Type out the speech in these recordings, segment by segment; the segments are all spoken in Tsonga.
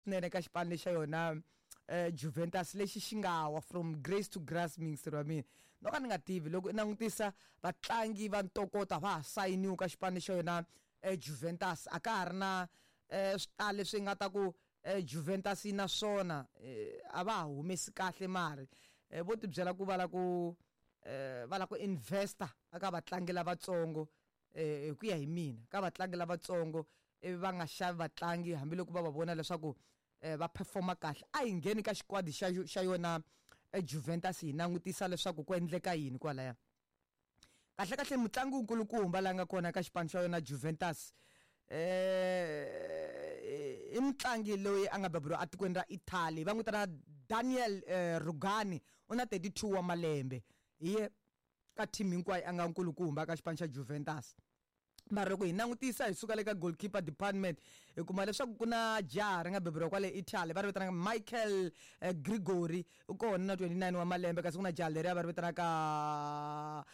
Swinene ka xipano lexa yona Juventus lexi xi nga wa from grace to grass, miyingiseri wa mina. No ka ni nga tivi loko i langutisa vatlangi va ntokoto a va ha sayiniwi ka xipano xa yona Juventus, a ka ha ri na swi tala leswi nga ta ku Juventus yi na swona, a va ha humesi kahle mali. Vo tibyela ku va la ku va la ku investa eka vatlangi lavatsongo, hi ku ya hi mina, ka vatlangi lavatsongo, ivi va nga xavi vatlangi hambiloko va va vona leswaku va performa kahle. A hi ngheni ka xikwadi xa yona Juventus hi langutisa leswaku ku endleka yini kwalaya. Kahle kahle mutlangi wukulukumba la nga kona ka xipano xa yona Juventus i mutlangi loyi a nga beburiwa etikweni ra Italy, va n'wi vitana Daniel Rugani, u na 32 wa malembe. Hi ye ka team hinkwayo a nga nkulukumba ka xipano xa Juventus. Mara loko hi langutisa hi suka le ka goalkeeper department, hi kuma leswaku ku na jaha ri nga beburiwa kwale Italy, va ri vitanaka Michael Gregory, u kona na 29 wa malembe. Kasi ku na jaha leriya va ri vitanaka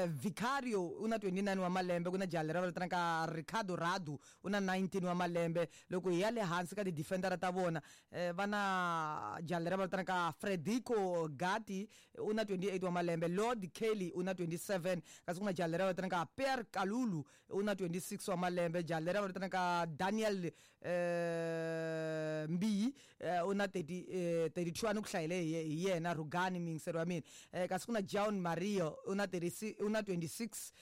Vicario, u na 29 wa malembe. Ku na jaha leriya va ri vitanaka Ricardo Radu, u na 19 wa malembe. Loko hi ya le hansi ka ti-defendera ta vona, va na jaha leriya va vitanaka Federico Gatti, u na 28 wa malembe. Lord Kelly u na 27. Kasi ku na jaha leriya va vitanaka Pierre Kalulu, u na 26 wa malembe. Jaha leriya va vitanaka Daniel Mbiyi, u na 32, a ni ku hlayele hi yena Rugani, miyingiseri wa mina. Kasi ku na John Mario, u na 36, u na 26.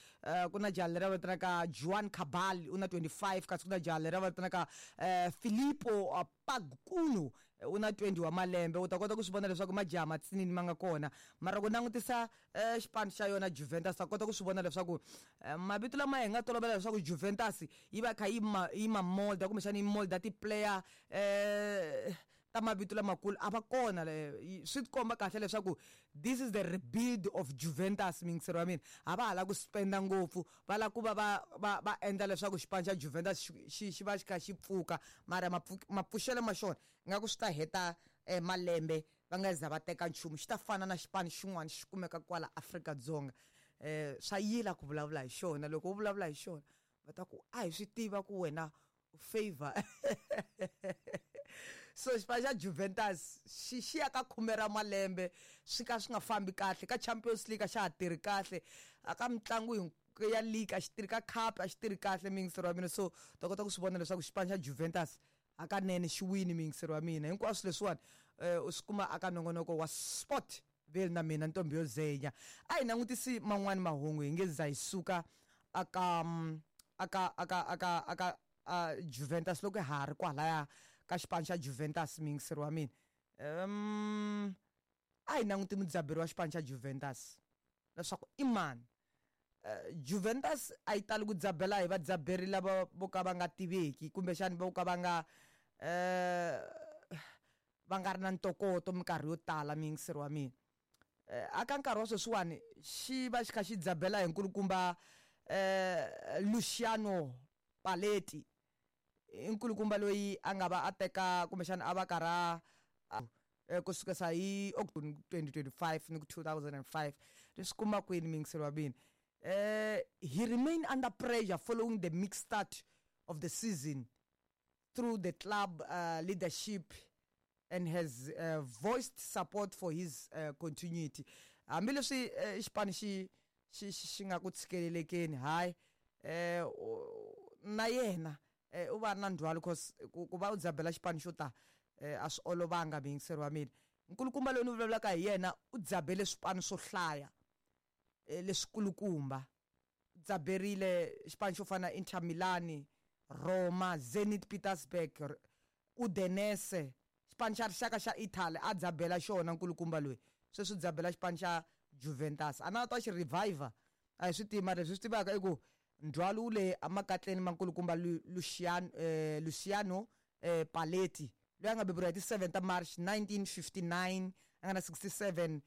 Ku na jaha leriya va vitanaka Juan Cabal, u na 25. Kasi ku na jaha leriya va vitanaka Filippo Pagkuno, u na 20 wa malembe. U ta kota ku swi vona leswaku majaha matsinini ma nga kona. Mara ku langutisa xipano xa yona Juventus, ta kota ku swi vona leswaku mavito lama hi nga tolovela leswaku Juventus yi va kha yi ma yi ma molda, kumbexana yi molda ti-player ta mavito lamakulu, a va kona. Swi tikomba kahle leswaku this is the rebuild of Juventus, miyingiseri wa mina. A va ha lava ku spenda ngopfu, va lava ku va va va va endla leswaku xipano xa Juventus xi va xi kha xi pfuka, mara mapfuxelo ma xona ingaku swi ta heta malembe va nga za va teka nchumu. Xi ta fana na xipano xin'wana xi kumeka kwala Afrika-Dzonga, swa yila ku vulavula hi xona. Loko u vulavula hi xona va ta ku a hi swi tiva ku wena u favor. So xipano xa Juventus xi ya ka khume ra malembe swi ka swi nga fambi kahle ka Champions League, a xa ha tirhi kahle a ka mitlangu ya league, a xi tirhi ka cup, a xi tirhi kahle, miyingiseri wa mina. So ta kota ku swi vona leswaku xipano xa Juventus hakanene xi wini, miyingiseri wa mina. Hinkwaswo leswiwani u swi kuma aka nongonoko wa Sport Vale na mina Ntombi yo Zenya. A hi langutisi man'wani mahungu, hi nge za hi suka aka Juventus. Loko ha ri kwalaya ka xipano xa Juventus, miyingiseri wa mina, a hi languti mudzaberi wa xipano xa Juventus leswaku i mani. Juventus a yi tali ku dzabela hi vadzaberi lava vo ka va nga tiveki, kumbexani vo ka va nga va nga ri na ntokoto minkarhi yo tala, miyingiseri wa mina. Aka nkarhi wa sweswiwani xi va xi kha xi dzabela hi nkulukumba Luciano Paletti, i nkulukumba loyi a nga va a teka kumbexana a va karha ku sukisa hi October 2025 ni ku 2005. Leswi kuma kwini, miyingiseri wa mina? He remained under pressure following the mixed start of the season through the club leadership and has voiced support for his continuity. Hambileswi xipano xi nga ku tshikelelekeni, hayi, na yena u va na ndzhwalo, cause ku va u dzabela xipano xo ta a swi olovanga, miyingiseri wa mina. Nkulukumba loyi ni vulavulaka hi yena u dzabele swipano swo hlaya leswikulukumba, dzaberile xipano xo fana na Inter Milan, Roma, Zenit Petersburg, Udinese, xipano xa rixaka xa Italy a dzabela xona nkulukumba loyi. Sweswi dzabela xipano xa Juventus, a na ta xi reviver, a hi swi tivi. Mara leswi swi tivaka i ku ndzhwalo wu le emakatleni ma nkulukumba Luciano Paletti, loyi a nga beburiwa hi ti 7 ta March 1959, a nga na 67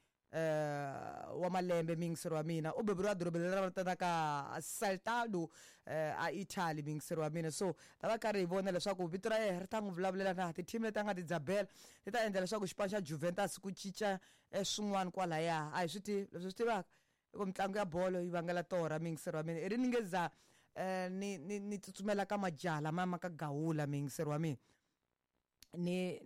wa malembe, miyingiseri wa mina. U beburiwa dorobeni leri va vitanaka Saltado a Italy, miyingiseri wa mina. So ta va karhi hi vona leswaku vito ra yena ri ta n'wi vulavulela na ti-team leti a nga ti dzabela ti ta endla leswaku xipano xa Juventus ku cinca swin'wana kwalaya. A hi swi tivi. Leswi swi tivaka i ku mitlangu ya bolo yi vangela torha, miyingiseri wa mina. I ri ni nge za ni tsutsumela ka majaha lama ma ka gawula, miyingiseri wa mina. Ni.